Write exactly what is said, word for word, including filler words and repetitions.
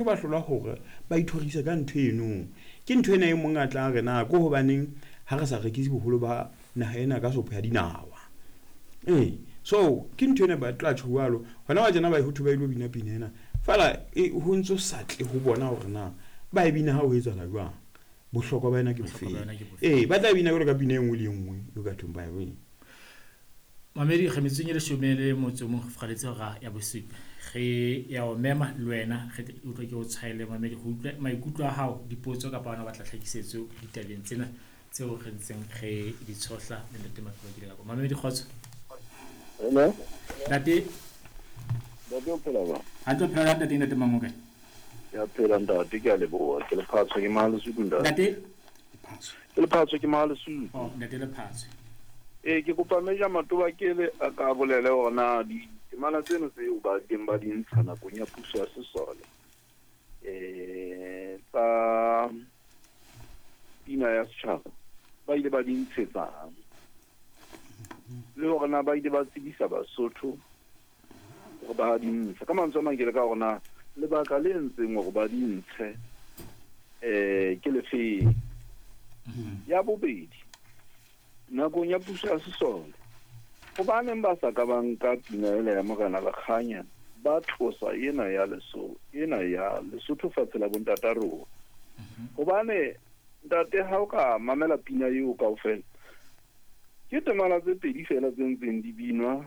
Ba hlolwa hore ba ithorise ka ntho eno. Ke ntho ena e mong a tla re na ko hobaneng ha re sa rekise boholo ba naha ena ka sopho ya dinawa. Ee, so ke ntho ena ba tla tjho jwalo. Hona wa tjena ba ho thwe ba ilo bina pina ena. Feela e ho ntso sa tle ho bona hore na ba e bina ha ho etsahala jwang. Bohlokwa ba yona ke Bohlokwa bofeng. ba yona ke bofe? Ee, ba tla e bina jwalo ka pina e nngwe le e nngwe eo ka thweng ba e bina. Mamedi, re metsotsong e leshome le motso o mong re furaletse hora ya bosupa. Re ya o mema le wena re tle utlwe ke o tshwaele mamedi go utlwe maikutlo a hao, dipotso kapa wena o batla tlhakisetso ditabeng tsena tseo re ntseng re di tshohla le Ntate Matoba ke ka. Mamedi, kgotso. Hello. Ntate. Ntate, o phela jwang? Hantle, o phela ntate, Ntate Mangoka. Ke a phela, ntate, ke a leboha. Ke Lephatshwa, ke Mahalesuthu, ntate. Ntate? Ke Lephatshwa, ke Mahalesuthu. Oh, Ntate Lephatshwa. Ee, ke kopa Major Matoba ke le a ka bolele hore na ditemana tseno tseo ba teng ba di ntsha nakong ya puso ya sesole eh tsa pina ya setjhaba ba ile ba di ntshetsang, le hore na ba ile ba tsebisa Basotho hore ba di ntsha. Ka mantswe a mang, ke le ka hore na lebaka le entseng hore ba di ntshe eh ke lefeng. Ya bobedi, nakong ya puso ya sesole hobaneng ba sa ka ba nka pina ela ya Morena Lekganya, ba tlosa ena ya Leso ena ya Lesotho fatshe la bontata rona? Hobane ntate, ha o ka mamela pina eo kaofela, ke temana tse pedi fela tse ntseng di binwa.